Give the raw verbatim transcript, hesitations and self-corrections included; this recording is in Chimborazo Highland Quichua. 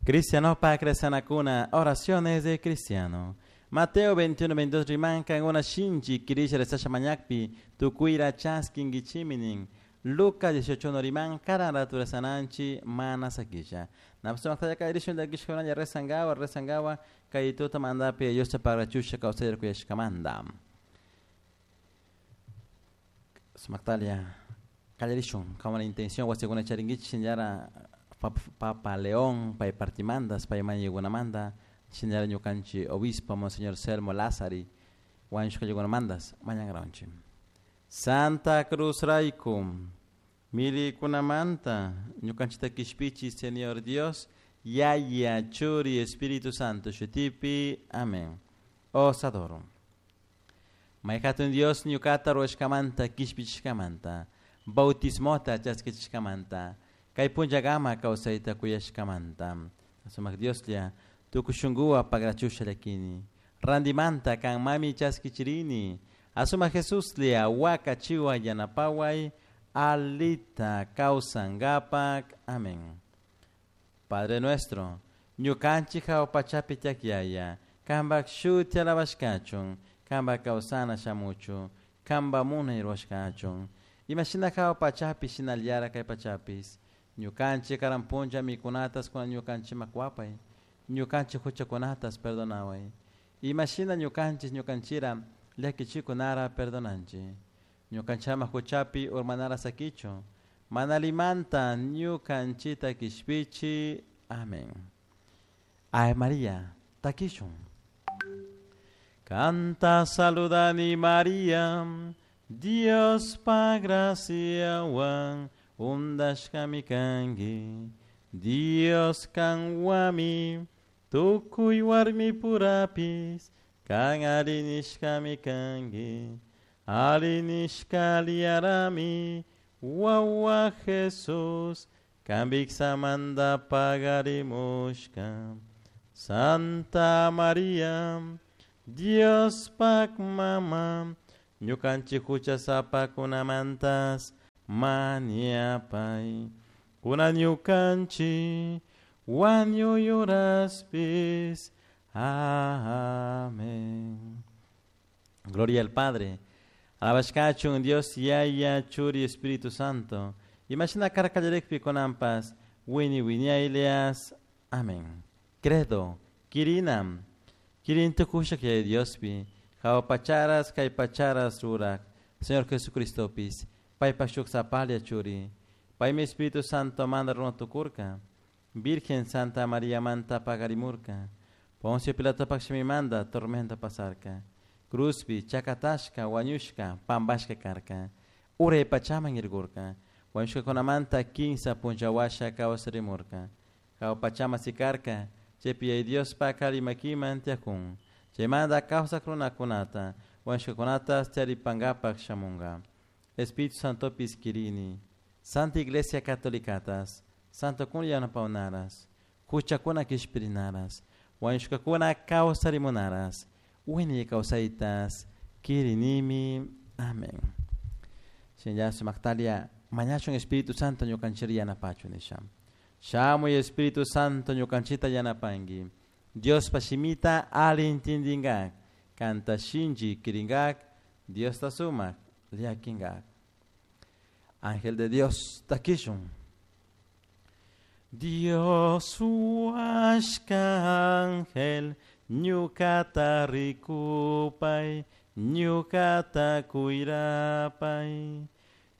Cristiano pa oraciones de cristiano. Mateo veintiuno, veintidós rimanka una shinchi kirisha rezasha mañakpi tukuyra chaskinkichiminin. Lucas dieciocho no riman karan ratu rezananchi mana sakisha. Napsumaktaya kayrishun llakishkunalla rezangawa rezangawa kay tuta mandapi Diosta pagrachusha kawsayar kuyashkamanta. Sumaktalia kallarishun kama la intención wasikuna charinkichik shinallara Papa León pay partimandas pay mañaykunamanta shinallara ñukanchik obispo Monseñor Selmo Lázari wañushkallakunamantas mañankaranchik. Santa Cruz rayku milikunamanta ñukanchikta kishpichi Señor Dios Yaya Churi Espíritu Santo shutipi. Amén. Os adoro. Mayhatun Dios ñukata ruwashkamanta kishpichishkamanta bautismota chaskichishkamanta kay punllakama kawsayta kuyashkamanta sumak Dioslla tukuy shunkuwan pagrachusha llakini rantimanta kanmami chaskichirini asumak Jesuslla wakachiwan yanapaway alita kawsankapak. Amén. Padre nuestro, ñukanchik hawa pachapi tiyak Yaya, kanpak shuti alabashkachun, kanpak kawsana shamuchun, kanpak munay rurashkachun. Imashina hawa pachapi shinallara kay pachapis, ñukanchik karan punlla mikunatas kuna ñukanchikman kuwapay, ñukanchik huchakunatas perdonaway. Imashina ñukanchik ñukanchira llakichikunara perdonanchik. Ñukanchama huchapi urmanara sakichu, mana limanta ñukanchita kishpichi. Amén. Ave María, takishun. Canta saludani María, Dios pa graciawan undashkami kanki. Dios kanwami, tukuy warmi purapis, kan arinishkami kanki. Arinishka liarami, wawa Jesús, kambiksamanta pagarimushka. Santa María, Dios pak mama, ñukanchik huchasapakunamantas mañapay. Kuna ñukanchik wañuyuraspis. Amén. Gloria al Padre. Alabashkachun Dios Yaya Churi Espíritu Santo. Imashina karkallarikpi kunanpas wini wiñaylias. Amén. Credo, kirinam, kirintukushak Yaya Diospi, hawa pacharas kay pacharas rurak, Señor Jesucristopis, paypak shuk sapalla churi, paymi Espíritu Santo manda runa tukurka, Virgen Santa María manta pagarimurka, Poncio Pilatopak shimimanta tormenta pasarka, cruzpi chakatashka wañushka pampashka karka, uray pachaman irkurka, wañushkakunamanta kinsa punlla kawsarimurka, hawa pachama sikarka, chaypi Yaya Diospak alli makiman tiyakun, chaymanta kawsak runakunata, wañushkakunata charipankapak shamunka. Espíritu Santopis kirini, Santa Iglesia Catolicatas, Santo kun yanapawnaras, huchakuna kishpirinaras, wañushkakuna kawsarimunaras, wiñay kawsaytas kirinimi. Amén. Shinalla sumaktalia mañashun Espíritu Santo ñukanchik yanapachun nisha. Shamuy Espíritu Santo ñukanchita yanapanki. Diospa shimita alli intindinkak, kanta shinchi kirinkak, Diosta sumak llakinkak. Ángel de Dios, takishun. Dios huashka ángel, ñukata rikupay, ñukata kuyrapay.